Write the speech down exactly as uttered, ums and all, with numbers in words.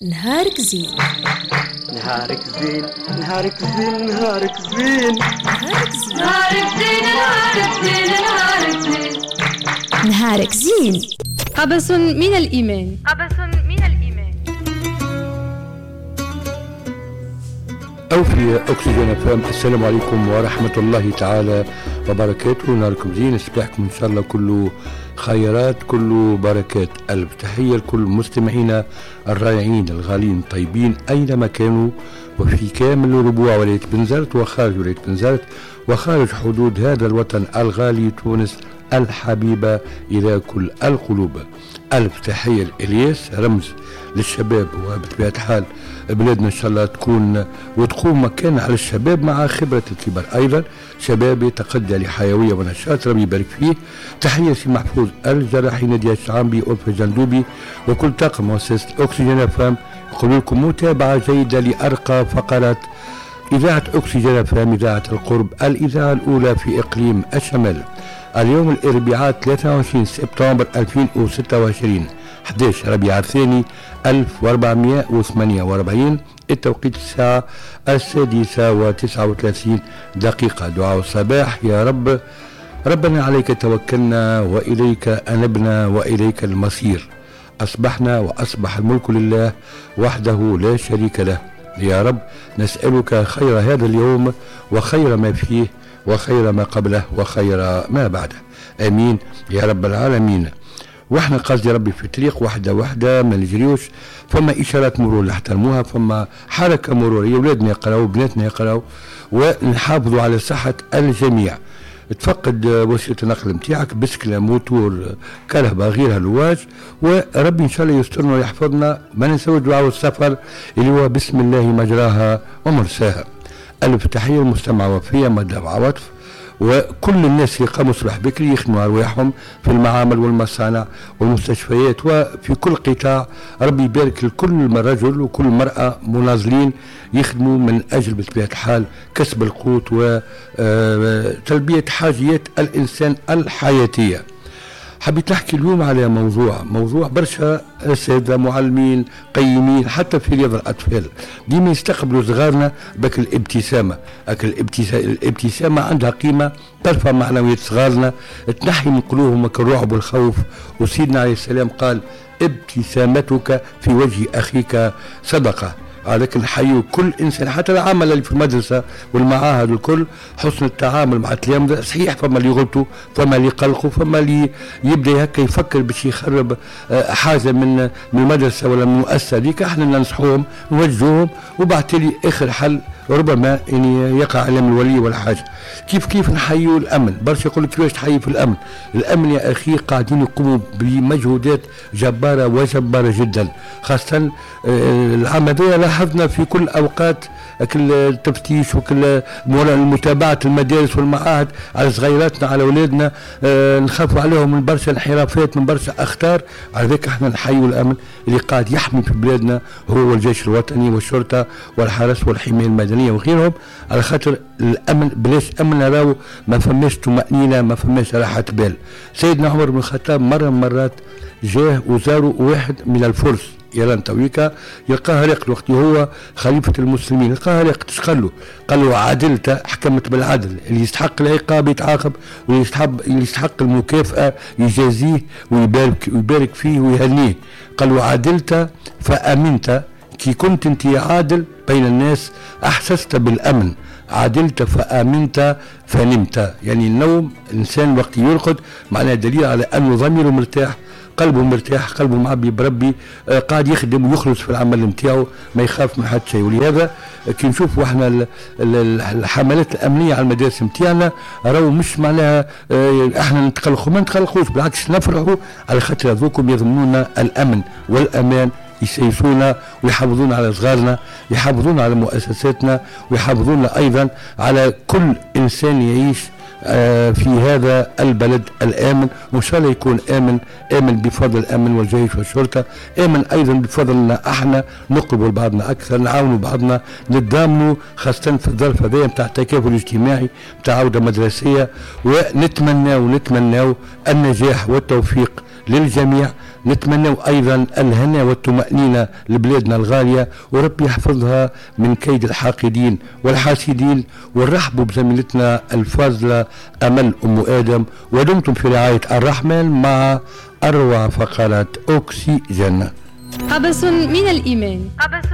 نهارك زين، نهارك زين، نهارك زين، نهارك زين، نهارك زين، نهارك زين، نهارك زين، نهارك زين، نهارك زين. قبس من الإيمان، قبس من الإيمان. أو في أكسجين أف أم. السلام عليكم ورحمة الله تعالى وبركاته. نهاركم زين، صباحكم إن شاء الله كله خيرات، كله بركات. ألف تحية لكل مستمعينا الرائعين الغالين الطيبين أينما كانوا، وفي كامل ربوع ولاية بنزرت وخارج ولاية بنزرت وخارج حدود هذا الوطن الغالي تونس الحبيبة إلى كل القلوب. ألف تحية لإلياس، رمز للشباب، وبطبيعة الحال بلادنا إن شاء الله تكون وتقوم مكان على الشباب مع خبرة الكبار أيضا. شباب يتقدى لحيوية ونشاط، ربي يبارك فيه. تحية سي محفوظ الجراحي، نادية الشعامبي، ألفة جندوبي، وكل طاقم مؤسسة أكسجين أف أم. يقول لكم متابعة جيدة لأرقى فقرات إذاعة أكسجين أف أم، إذاعة القرب، الإذاعة الأولى في إقليم الشمال. اليوم الأربعاء ثلاثة وعشرين سبتمبر ألفين وستة وعشرين، أحد عشر ربيع الثاني ألف وأربعمائة وثمانية وأربعين، التوقيت الساعة السادسة وتسعة وثلاثين دقيقة. دعاء الصباح: يا رب ربنا عليك توكلنا وإليك أنبنا وإليك المصير. أصبحنا وأصبح الملك لله وحده لا شريك له. يا رب نسألك خير هذا اليوم وخير ما فيه وخير ما قبله وخير ما بعده، امين يا رب العالمين. واحنا قصدي ربي في طريق واحدة واحدة ما نجريوش، فما اشارات مرور نحترموها، فما حركة مروريه، اولادنا يقراو بناتنا يقراو، ونحافظوا على صحة الجميع. تفقد وسيلة النقل نتاعك، بسكله، موتور، كرهبه، غيرها، لواج، وربي ان شاء الله يسترنا ويحفظنا. ما ننساوش دعاء السفر اللي هو بسم الله مجراها ومرساها. ألف تحية للمستمع وفية مدام عواطف وكل الناس اللي قاموا صباح بكري يخدموا أرواحهم في المعامل والمصانع والمستشفيات وفي كل قطاع. ربي يبارك لكل رجل وكل مرأة مناضلين يخدموا من أجل بطبيعة الحال كسب القوت وتلبية حاجيات الإنسان الحياتية. حبيت نحكي اليوم على موضوع موضوع برشا أساتذة معلمين قيمين حتى في رياض الأطفال ديما يستقبلوا صغارنا بك الابتسامة. الابتسامة, الابتسامة عندها قيمة، ترفع معنويات صغارنا، تنحي من قلوبهم الرعب والخوف. وسيدنا عليه السلام قال: ابتسامتك في وجه أخيك صدقة. لكن نحيوا كل انسان حتى العمل اللي في المدرسة والمعاهد والكل، حسن التعامل مع التلامذه. صحيح فما اللي يغلطوا، فما اللي يقلقوا، فما اللي يبدا هكا يفكر باش يخرب حاجة من من المدرسة ولا من المؤسسة هذيك. احنا ننصحوهم نوجهوهم، وبعد تالي اخر حل ربما يعني يقع علم الولي ولا حاجة. كيف كيف نحيوا الامن؟ برشا يقول لك كيفاش تحيي في الامن؟ الامن يا اخي قاعدين يقوموا بمجهودات جبارة وجباره جدا، خاصة العام هذا لاحظنا في كل اوقات التفتيش وكل متابعه المدارس والمعاهد على صغيراتنا على اولادنا، نخافوا عليهم من برشا انحرافات، من برشا اخطار. على ذلك احنا نحيوا الامن اللي قاعد يحمي في بلادنا، هو الجيش الوطني والشرطة والحرس والحماية المدنية وغيرهم. على خاطر الامن، بلاش امن راهو ما فماش طمانينة، ما فماش راحة بال. سيدنا عمر بن الخطاب مرة من مرات جاه وزاروا واحد من الفرس إيران تويكا، يلقاها راقد وقت هو خليفة المسلمين، يلقاها راقد. اش قال له؟ قال له: عدلت، حكمت بالعدل، اللي يستحق العقاب يتعاقب، واللي يستحق اللي يستحق المكافأة يجازيه ويبارك ويبارك فيه ويهنيه. قال له: عدلت فأمنت، كي كنت انت عادل بين الناس أحسست بالأمن. عدلت فآمنت فنمت. يعني النوم، الإنسان وقت يرقد معناه دليل على أنه ضميره مرتاح، قلبه مرتاح، قلبه معبي بربي، آه قاعد يخدم ويخلص في العمل نتاعو، ما يخاف من حد شيء. ولهذا كي نشوفوا احنا الحملات الامنية على المدارس نتاعنا، راهو مش معناها آه احنا نتقلقوا، ما نتقلقوش، بالعكس نفرحوا على خاطر هذوكم يضمنونا الامن والامان، يسيسونا ويحافظون على صغارنا، يحافظون على مؤسساتنا، ويحافظون ايضا على كل انسان يعيش في هذا البلد الآمن. وإن شاء الله يكون آمن، آمن بفضل الأمن والجيش والشرطة، آمن أيضا بفضلنا احنا، نقربوا لبعضنا أكثر، نعاونوا بعضنا، نتضامنوا، خاصة في الظرف هذا نتاع التكافل الاجتماعي نتاع عودة مدرسية. ونتمنى ونتمنى النجاح والتوفيق للجميع. نتمنى أيضا الهنا والطمأنينة لبلادنا الغالية، وربي يحفظها من كيد الحاقدين والحاسدين. ونرحبوا بزميلتنا الفاضلة أمل أم آدم، ودمتم في رعاية الرحمن مع أروع فقرات أكسجين. قبس من الإيمان. قبس.